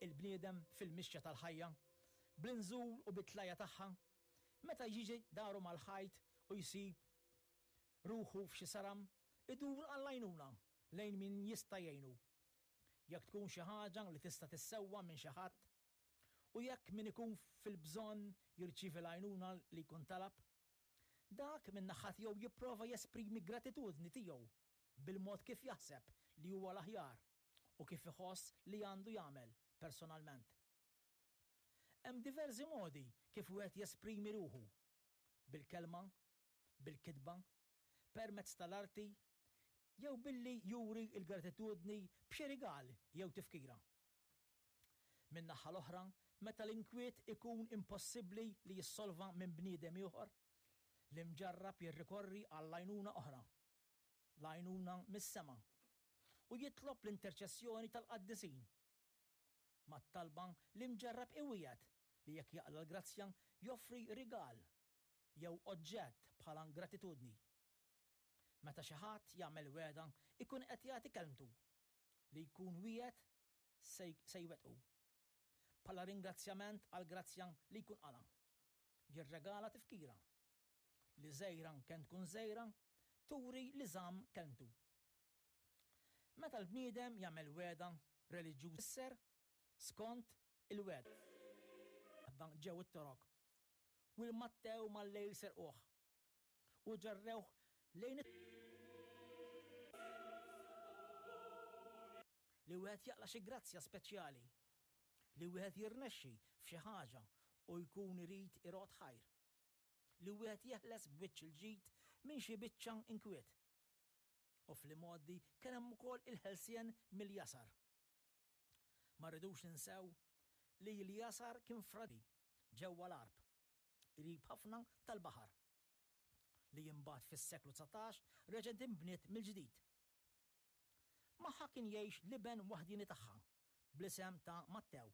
Il-bniedem fil-mixja tal-ħajja, bl-inżul u bit-tlajja tagħha, meta jiġi daru mal-ħajt u jsib ruħu f'xi saram, idur għall-għajnuna lejn min jista' jgħinu. Jekk tkun xi ħaġa li tista' tissewwa minn xi ħadd, u jekk min ikun fil-bżonn jirċievi l-għajnuna li jkun talab, dak min-naħa tiegħu jipprova jesprimi gratitudni tiegħu bil-mod kif jaħseb li huwa l-aħjar u kif iħoss li għandu jagħmel personalment. Hemm diversi modi kif wieħed jesprimi ruħu. Bil-kelma, bil-kitba, permezz tal-arti, jew billi juri l-gratitudni b'xi rigal jew tifkira. Min-naħa l-oħra, meta l-inkwiet ikun impossibbli li jissolva minn bniedem ieħor, l-imġarrab jirrikorri għall-għajnuna oħra, l-għajnuna mis-sema, u jitlob l-interċessjoni tal-qaddisin. Mat-talba l-imġarrab iwiegħed li jekk jaqla' l-grazzja joffri rigal jew oġġett bħala gratitudni. Meta xi ħadd jagħmel wegħda ikun qed jagħti kelmtu li jkun wiegħed se jwettqu. Bħala ringrazzjament għall-grazzja li jkun qala'. Jirregala tifkira li żgħira kemm tkun żgħira turi li żamm kelmtu. Meta l-bniedem jagħmel wegħda reliġjuża fisser skont il-wegħda ġew it-Torok u l-Mattew mal-lejl serquh u ġarrewh lejn Li wieħed jaqla' xi grazzja speċjali, li wieħed jirnexxi f'xi ħaġa u jkun irid irodd ħajr, li wieħed jeħles b'wiċċ il-ġid minn xi biċċa inkwiet. U fl-imgħoddi kien hemm ukoll il-ħelsien mill-jasar. Ma rridux ninsew li l-jasar kien fradi ġewwa l-Għarb, qrib ħafna tal-baħar, li imbagħad fis-seklu 19 reġgħet inbniet mill-ġdid. Magħha kien jgħix l-iben waħdieni tagħha bl-isem ta' Mattew.